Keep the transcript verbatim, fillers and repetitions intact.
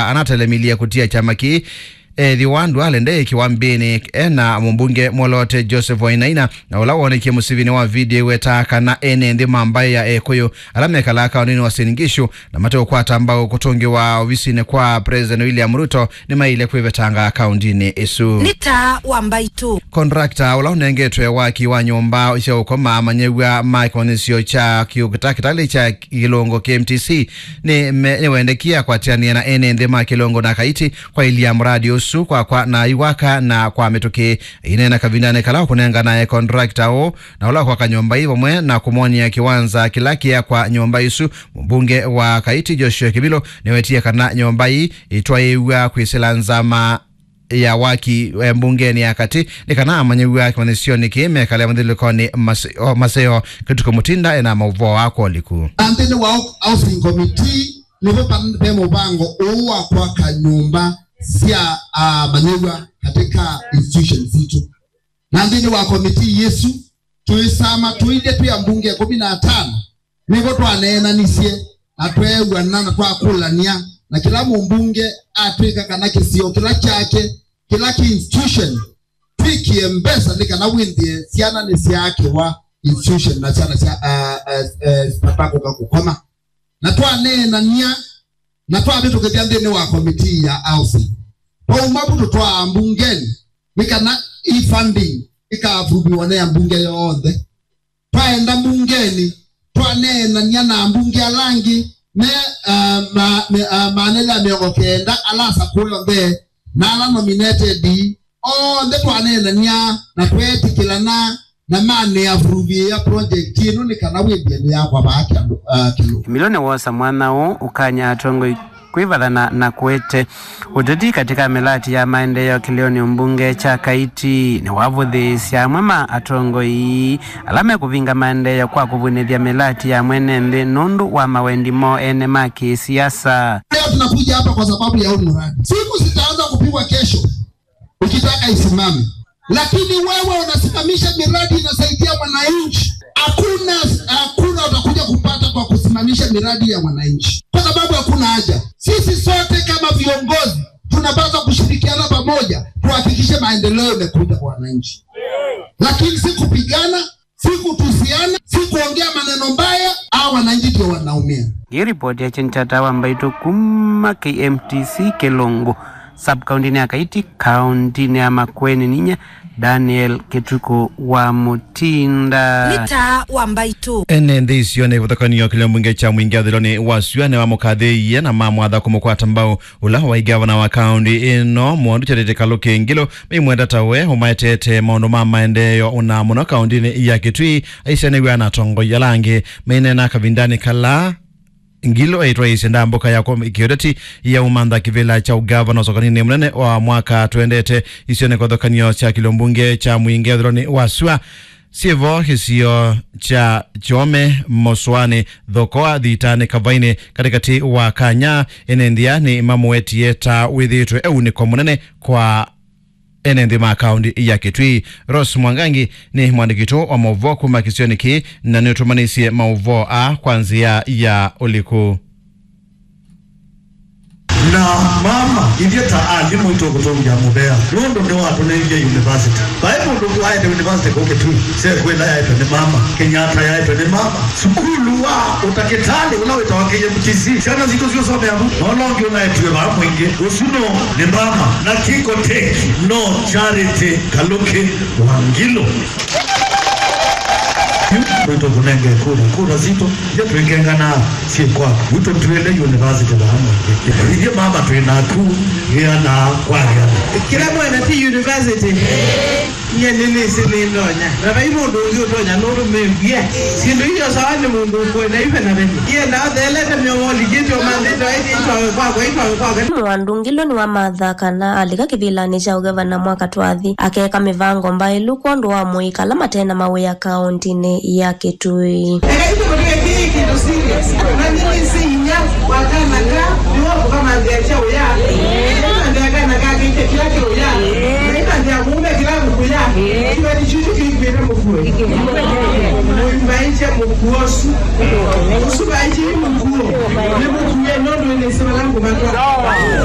anatelemilye kũtia kyama kĩĩ. Ethĩwa Duale ndeĩkĩwa mbĩnĩ, ena mũmbunge mwolote Joseph Wainaina, na ũla woonekie mũsivinĩ wa video ĩwetaa kana ene nthĩ ma mbaĩ ya Ekũyũ ala mekalaa kaũndĩnĩ wa Uasin Gishu na mate ũkwata mbaũ kũtũngĩwa ovisinĩ kwa President William Ruto nĩmaĩle kwĩvetanga kaũndĩnĩ ĩsu. Nĩ taa wa mbaitũ. Contractor ũla ũnengetwe waki wa nyũmba sya ũkoma amanyĩw'a ma kĩmanyĩsyo kya kĩtakĩtalĩ kya Kĩlũngũ K M T C nĩ me- nĩwendekie akwatĩanĩe na ene nthĩ ma Kĩlũngũ na Kaiti kwaĩlya mradi ũsu kwakwa na aiwaka na kwa mĩtũkĩ. Aineena kavindanĩ kala ũkũnenganae contractor ũũ na ũla ũkwaka nyũmba ii vamwe na kũmwony'a kĩwanza kĩla kĩakwa nyũmba isu, mũmbunge wa Kaiti Joshua Kĩvilo nĩwetie kana nyũmba ii itwaĩĩw'a kwĩsĩla nzama ya waki, eh, mbungenĩ ya katĩ nĩ kana amanyĩw'a kĩmanyĩsyonĩ kĩĩ mekale mathyũlũlũkonĩ mase- o, maseo. Kĩtuko Mũtinda ena maũvoo aa kwa ũliku. Na nthĩnĩ wa housing committee nĩvo pa- ve mũvango ũũ wa kwaka nyũmba sya, ah, amanyĩw'a katika institutions sitũ. Na nthĩnĩ wa committee yĩsu, tũisama tũilye twĩ ambunge kũmi na atano, nĩvo twaneenanisye na tweew'ana na twakũlany'a, na kĩla mũmbunge atw'ĩka kana kĩsio kĩla kyake, kĩla kĩ institution, twĩkĩe mbesa nĩ kana wĩthĩe syana nĩsyaakĩwa institution na syana sya, uh, uh, uh, sitakũka kũkoma. Na twaneenany'a na twavĩtũkĩthya nthĩnĩ wa komitii ya housing. Twauma vu tũtwaa mbungenĩ nĩ kana e-funding ĩkaavuviwa nĩ ambunge yonthe. Twaenda mbungenĩ, twaneenany'a na ambunge ala angĩ me, uh, ma, me, uh, maana ĩla mĩongo kenda ala asakũe onthe na ala nominated onthe, twaneenany'a na tweetĩkĩlana na manĩavuruvĩĩa project ĩno nĩ kana wĩthĩe nĩyakwa vaa kĩandũ, uh, kĩlũ. Kĩmilo nĩwosa mwanya ũũ ũkany'a atongoi kwĩvathana na kũete ũteti katika mĩlati ya maendeeo kĩlĩonĩ mbunge kya Kaiti. Nĩwavũthĩĩsya amwe ma atongoi ala mekũvinga maendeeo kwa kũvunĩthya mĩlati ya mwene nthĩ nũndũ wa mawendi moo ene ma kĩsiasa. Leo tunakuja hapa kwa sababu ya huu mradi. Simu zitaanza kupigwa kesho ukitaka isimame. Lakini wewe unasimamisha miradi inasaidia mwananchi. Hakuna, hakuna utakuja kupata kwa kusimamisha miradi ya mwananchi. Kwa sababu hakuna haja. Sisi sote kama viongozi tunapaswa kushirikiana pamoja tuhakikishe maendeleo imekuja kwa wananchi. Lakini si kupigana, si kutusiana, si kuongea maneno mbaya, hao wananchi ndio wanaumia. Ngĩripoti ya Chinchata wa Mbaitũ kuma K M T C Kĩlũngũ, sub-kaũntĩnĩ ya Kaiti, kaũntĩnĩ ya Makueni, ninyie Daniel Kĩtukũ wa Mũtinda. Nĩ taa wa Mbaitũ. Ene nthĩ icio nĩ ĩvathũkanio kĩlĩo mbunge kya Mwingi Athiloni wa Sua nĩwamũkathĩĩie na mamwatha kũmũkwata mbau. Ũla waĩ ngavana wa kaũntĩ ĩno, Mwondu Charity Kaluki Ngilu, meimwenda ta we ũmaetete maũndũ ma maendeeo, ũna mũno kaũntĩnĩ ya Kitui, aisyanĩw'a na atongoi ala angĩ. Maineena kavindanĩ kala Ngilu aitwaĩĩsye ndambũka ya kũ- kĩũteti ya ũmantha kĩvĩla kya ũngavana ũsokani-inĩ mũnene wa mwaka twendete isionĩ kĩvathũkanio kya kĩlĩo mbunge kya Mwingi Athiloni wa Sua. Syĩ vo kĩsio kya Kyome, Mũsũanĩ, Thokoa, Thitanĩ, Kavainĩ, katĩkatĩ wa Kanya, ene nthĩa nĩmamũwetie ta wĩthĩĩtwe e unĩko mũnene kwa ene nthĩ ma kaũntĩ ya Kitui. Rose Mwangangi nĩ mwandĩki witũ wa maũvoo kuma kĩsionĩ kĩĩ na nĩũtũmanĩisye maũvoo aa kwa nzĩa ya ũliku. Na mama, ithyĩ ta alimũ nĩtũkũtũngĩa mũvea, nũndũ nĩwatũnengie university. Vai mũndũ ũngĩ waete university kũũ Kitui, sekwĩla yaetwe nĩ mama, Kenyatta yaetwe nĩ mama. Sukulu wa ũtakĩtalĩ ũla wĩtawa K M T C, syana sitũ syũsomea vu, na ũla ũngĩ ũnaetiwe vaa Mwingi, ũsu no nĩ mama. Na Kingo Tech no Charity Kaluki wa Ngilu. Yu, nĩtũkũnenge kura, kura sitũ. Ithyĩ twĩkenganaa syĩ kwaku. Yu tũtwĩle university vamwe. Ithyĩ mama twĩ naku, gĩanaa kwa gĩana. Kĩla mwene ti university. Nyie nĩnĩsĩ nĩndonya. Na vai mũndũ ũngĩ ũtonya nũndũ mĩmbie. Syĩndũ iyo sawa nĩ mũndũ ũkwenda ive na vene. Ienda ũthelete mĩomo likĩtyo mandĩtwa ĩtĩ itwawe kwakwa, itwawe kwakwa. Mwandũ Ngilu nĩwamatha kana alika kĩvĩlanĩ kya ũgavana mwaka twathi, akeka mĩvango mbaĩlu kwondũ wa mũika ala mate na mawĩa kaũntĩnĩ ya Kitui. Eka itũ tũtwĩkĩe kĩndũ serious. Na nĩnĩsĩ inya wa kana ka nĩwe ũkũkamantha kya ũya. Nĩkamantha kana ka kĩte kĩla kĩ ũya. Nĩkamantha mũũme kĩla mũkũya. Kĩveti kyu kĩkwĩte mũkue. Mũimbaĩkye mũkuo ũsu. Ũsu vaĩkye mũkuo. Nĩ mũkue nũndũ nĩsĩ vala No.